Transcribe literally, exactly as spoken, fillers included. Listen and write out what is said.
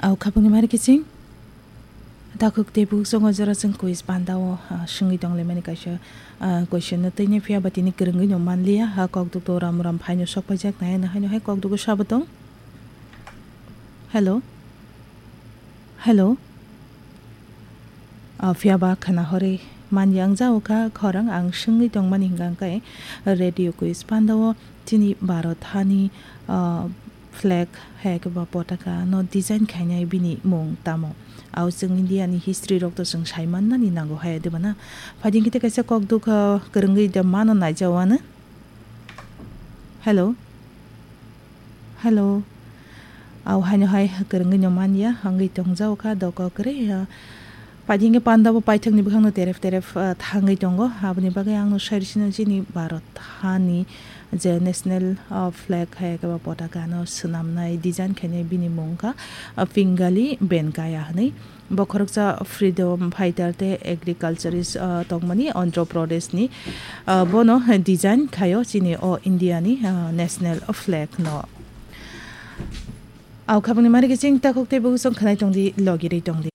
Au khabangni mari kiching. Takhuk tei bukhuk songo jora chwng quiz panda o, ah, swngwi tonglaimani kaisa, ah, question no tini phiya ba tini kwrwngwi no manliya, ha kok duk to ram ram phaino sok paijak nai, ano haino hai kok dugo sabo tong. Hello? Hello? Ah, phiya ba khana horwi manya wng jao kha khorang ang swngwi tongmani hwnkha hwnkhe radio quiz panda o tini Bharat hani, ah, flag hai khe ba potaka no design khainai bini mung tamo? Au chwng India ni history rok to chwng sai mannani nango hai de bana. Phaidi khe kaisa kok duk, ah, kwrwngwi de mano naijao ano. Hello? Hello? Au haino hai kwrwngwi no manya, hangwi tongjao kha doko kwrwi, ah, phaidi khe panda bo paithak ni bwkhang no terep terep, ah, thangwi tongo. Aboni bagwi ang no sai sino chini Bharat hani je national, ah, flag hai khe ba potaka no swnamnai design khainai bini mung kha, ah, Pingali Venkaiah hwnwi. Bo khoroksa freedom fighter tei agriculturist, ah, tongmani Andhra Pradesh ni, ah, bono design khaio chini o India ni, ah, national flag no. Au khabangni mari kiching takhuk tei bukhuk song khanai tongdi, logirwi tongdi.